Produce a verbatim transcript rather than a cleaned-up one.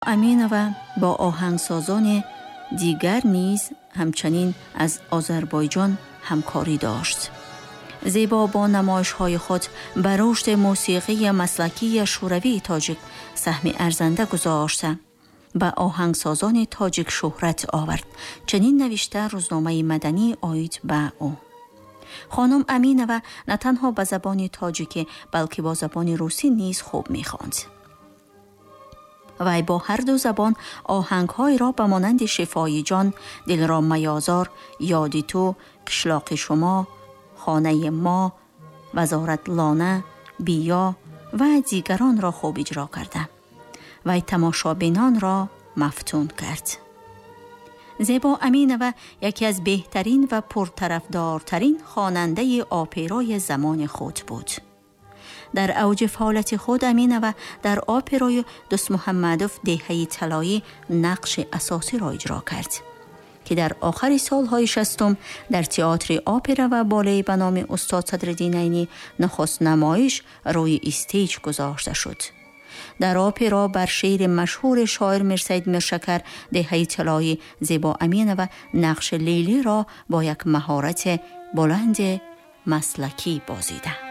Аминова бо оҳангсозони дигар низ ҳамчунин аз Озарбойҷон ҳамкорӣ дошт. Зебо бо намоишҳои худ ба рушди мусиқии маслакии шӯравии тоҷик саҳми арзанда гузошта, ба оҳангсозони тоҷик шӯҳрат овард. Чунин навишта рӯзномаи маданӣ оид ба ӯ. Хонум Аминова на танҳо ба забони тоҷикӣ, балки бо забони русӣ низ хуб мехонд. Вай бо ҳар ду забон оҳангҳоеро ба монанди «Шифои ҷон», «Дилро маёзор», «Ёди ту», «Қишлоқи шумо», «Хонаи мо», «Вазорат лона», «Биё» ва дигаронро хуб иҷро карда. Вай тамошобинонро мафтун кард. Зебо Аминова яке аз беҳтарин ва пуртарафдортарин хонандаи оперои замони худ буд. Дар авҷи фаъолияти худ Аминова дар оперои Дӯстмуҳаммадов «Деҳаи талоӣ» нақши асосиро иҷро кард, ки дар охири солҳои шастум дар театри опера ва балет ба номи устод Садриддин Айнӣ нахуст намоиш рӯи stage гузошта шуд. Дар опера бар шеъри машҳури шоир Мирсаид Миршакар «Деҳаи талоӣ» Зебо Аминова нақши Лейлиро бо як маҳорати баланди маслакӣ бозида.